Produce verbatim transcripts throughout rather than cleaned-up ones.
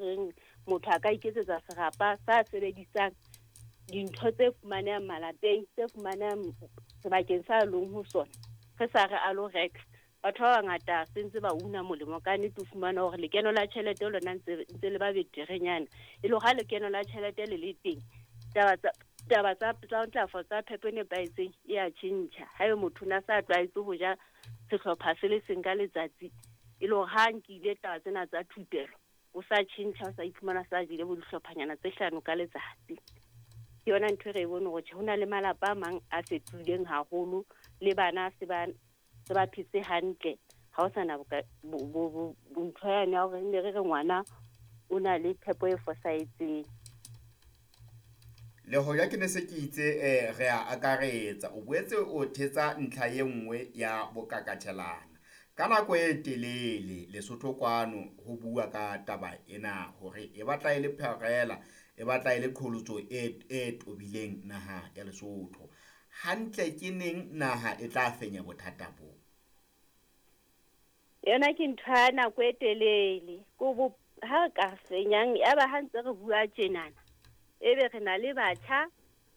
reng motho a ka iketsetsa serapa sa sebedisang dintho tse fumanehang malapeng, tse fumanehang sebakeng sa leng ho sona, re sa re a lo reka. Batho ba bangata se ntse ba una molemo ka nnete, o fumana hore lekeno la tjhelete lona ntse ntse le ba beterenyana. E le hore ha lekeno la tjhelete le le teng, taba tsa taba tsa tsa ntlafatso tsa phepo e nepahetseng e a tjhentjha. Haeba motho o na sa tlwaetse ho ja sehlopha se le seng ka letsatsi, e le hore ha nkile taba tsena tsa thupelo, o sa tjhentjha, o sa iphumana sa jele bo dihlophanyana tse hlano ka letsatsi. Ke yona ntho e re e bone hore tjhe, ho na le malapa a mang a fetohileng haholo, le bana se ba se ba phetse hantle. Ha ho sana ntho yane ya hore ne re re ngwana o na le phepo e fosahetseng. Le hoja ke ne se ke itse eh, re a akaretsa, o boetse o thetsa ntlha e nngwe ya bokakatjhelana. Ka nako e telele Lesotho kwano ho bua ka taba ena hore e batla e le pharela, e batla e le qholotso e, e tobileng naha ya Lesotho. Hantle ke neng naha e tla fenya bothata bo? Yona ke ntho ya nako e telele. Ko bo ha re ka fenyang, ya ba ha ntse re bua tjenana, ebe re na le batjha,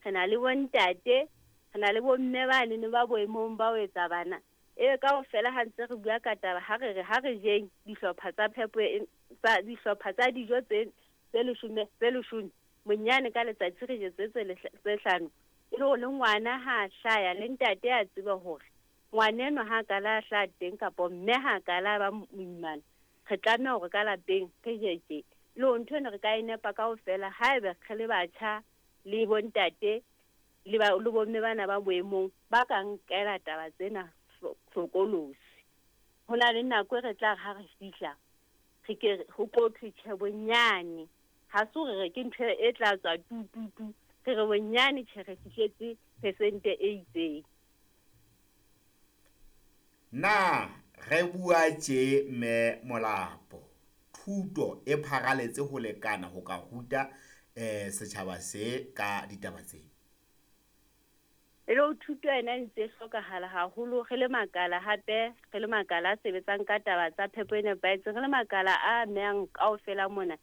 re na le bontate, re na le bomme ba nene ba boemong ba ho etsa bana. Ebe kaofela ha ntse re bua ka taba, ha re re ha re jeng dihlopha tsa phepo e, tsa dihlopha tsa dijo tse tse leshome, tse leshome bonyane ka letsatsi re je tse tse tse hlano. E le hore le ngwana ha hlaya, le ntate a tsebe hore ngwaneno ha ka la hlaha teng kapa mme ha ka la ba moimana, re tlameha hore ka lapeng re je tje. Le hore ntho ena re ka e nepa kaofela haeba re le batjha le bontate le ba le bomme bana ba boemong ba ka nkela taba tsena hlokolosi. Ho na le nako e re tla re ha re fihla re ke ho tlo thwe tjhe bonyane, ha se hore re ke ntho e tla tswa tu tu tu, re re bonyane tjhe re fihletse percent-e e itseng. Na re bua tje mme Molapo, thuto e pharaletse ho lekana ho ka ruta eh setjhaba se ka ditaba tse? E le thuto ena e ntse e hlokahala haholo, re le makala hape, re le makala a sebetsang ka taba tsa phepo e nepahetseng, re le makala a amehang kaofela mona.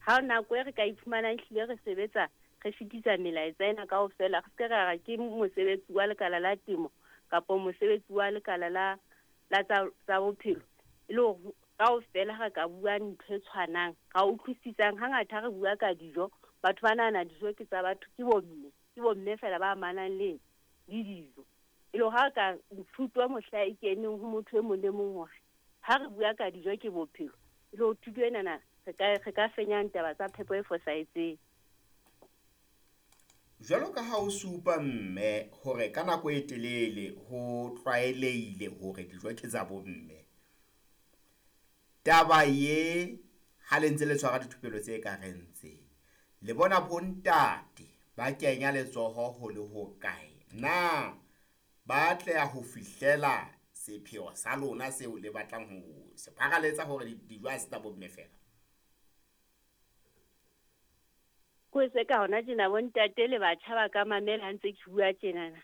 Ha nako e re ka iphumanang ehlile re sebetsa, re fetisa melaetsa ena kaofela, re se ke ra re ke mosebetsi wa lekala la temo kapa mosebetsi wa lekala la la tsa tsa bophelo. E le hore kaofela re ka bua ntho e tshwanang, ra utlwisisang. Hangata ha re bua ka dijo, batho ba nahana dijo ke tsa batho, ke bomme, ke bomme feela ba amanang le le dijo. E le hore ha re ka thuto mohla e keneng ho motho e mong le mong hore ha re bua ka dijo ke bophelo, e le hore thuto enana re ka re ka fenyang taba tsa phepo e fosahetseng. Jwalo ka ha o supa mme hore ka nako e telele ho tlwaelehile hore dijo ke tsa bomme. Taba ye ha le ntse le tshwara dithupelo tse ka reng tse, le bona bontate ba kenya letsoho ho le hokae? Na ba atleha ho fihlela sepheo sa lona seo le batlang ho se pharaletsa hore dijo ha se tsa bomme feela? Ko se ka hona tjena bontate le batjha ba ka mamela ha ntse ke bua tjenana.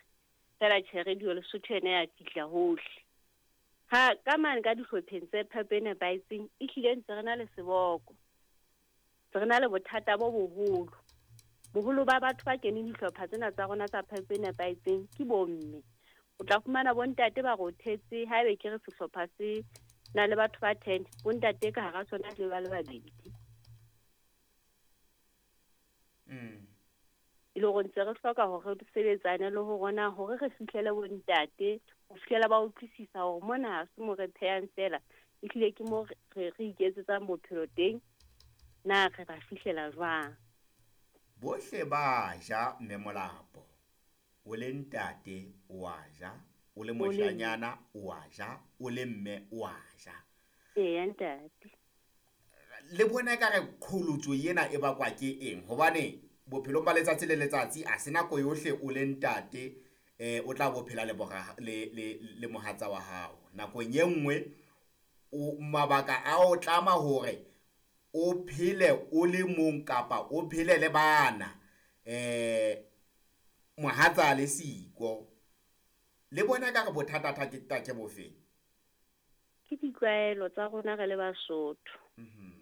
Feela tjhe, Radio Lesotho ena ya fihla hohle. Ha ka mane ka dihlopheng tse phepo e nepahetseng, ehlile ntse re na le seboko. Ntse re na le bothata bo boholo. Boholo ba batho ba keneng dihlopha tsena tsa rona tsa phepo e nepahetseng ke bomme. O tla fumana bontate ba rothetse, haebe ke re sehlopha se na le batho ba ten, bontate ka hara sona ke ba le babedi. Mm. E le hore ntse re hloka hore re sebetsane le ho rona hore re fihlele bontate, ho fihlela ba utlwisisa hore mona ha se mo re phehang feela, ehlile ke mo re, re iketsetsang bophelo teng, na re ba fihlela jwang. Bohle ba ja mme Molapo, o le ntate o a ja, o le moshanyana o a ja, o le mme o a ja. Eya ntate. Le bona ekare qholotso ena e bakwa ke eng? Hobane bophelong ba letsatsi le letsatsi a se nako yohle o le ntate eh o tla bo phela le bora le le le mohatsa wa hao. Nakong e nngwe o mabaka a o tlama hore o phele o le mong kapa o phele le bana eh mohatsa le siko. Le bona ekare bothata ke ke bofeng? Ke ditlwaelo tsa rona re le Basotho. Mhm.